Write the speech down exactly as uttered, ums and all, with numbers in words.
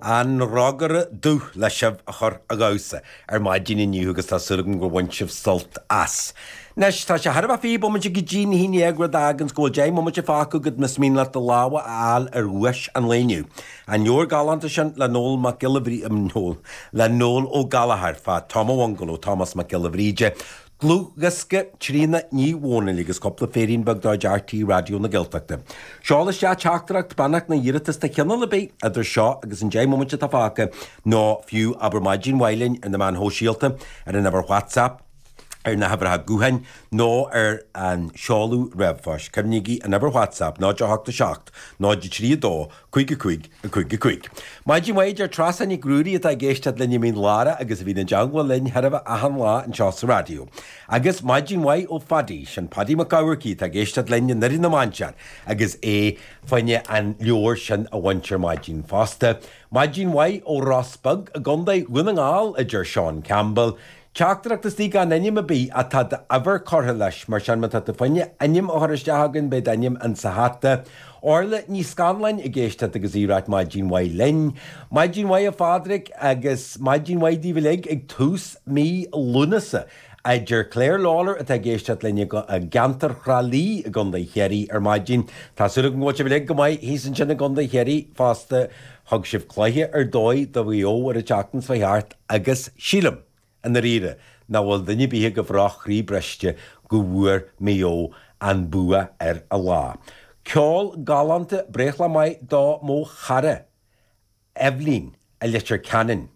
An Rógaire Dubh le sibh a chur a dhamhsa ar maidin inniu agus tá súil agam gur bhain sibh sult as. Anois tá sé thar a bheith fiche bomaite go dtí a haon déag rud a fháganns go bhfuil deich mbomaite fágtha agat más mian leat do lámha a fháil ar dhuais an lae inniu. An leabhar galánta sin le Noel Mac Giolla Bhrí Noel le Noel Ó Gallchóir fá Tom a' Bhungalow Tomás Mac Giolla Bhríde. Dlúthdhiosca Tríona Ní Dhomhnaill agus cúpla féirín beag de chuid RTÉ Raidió na Gaeltachta. Seol isteach teachtaireacht beannacht nó iarratas de chineál ar bith idir seo agus an deich mbomaite atá fágtha nó fiú abair maidin mhaith linn ar na meáin shóisialta ar an uimhir WhatsApp ar na huimhreacha gutháin nó ar an seoladh ríomhphoist. Cuimhnígí an uimhir WhatsApp náid a hocht a seacht, náid a trí a dó, cúig a cúig, a cúig a cúig. Maidin mhaith a deir Treasa Nic Ruairí atá ag éisteacht linn i Mín Lárach agus a bhíonn i dteagmháil linn thar a bheith achan lá anseo sa raidió. Agus maidin mhaith ó Phaddy, sin Paddy Mac Eamharcaigh atá ag éisteacht linn i nDoire na Mainsear agus é fá choinne an leabhar sin a bhaint ar maidin fosta. Maidin mhaith ó Ros Beag i gContae Dhún na nGall a deir Seán Campbell. Teachtaireacht istigh gan ainm ar bith ach tá d'uimhir curtha leis mar sin má tá tú fá choinne ainm a chur isteach againn beidh d'ainm insa hata. Orla Ní Scanláin ag éisteacht agus í ag ráit maidin mhaith linn. Maidin mhaith a Phádraig agus maidin mhaith daoibh uilig ag tús mí Lúnasa. A deir Claire Lawler atá ag éisteacht linn i gceantar Thrá Lí i gContae Chiarraí ar maidin. Tá súil agam go bhfuil sibh uilig go maith thíos ansin i gContae Chiarraí fosta thug sibh cluiche ar dóigh do Mhaigh Eo ar an tseachtain seo thart agus sílim. I ndáiríre, nach bhfuil duine ar bith agaibh ró-chroí briste go bhfuair Maigh Eo an bua ar a lá. Ceol galánta breithlá maith do mo chara, Eibhlín i Leitir Ceanainn.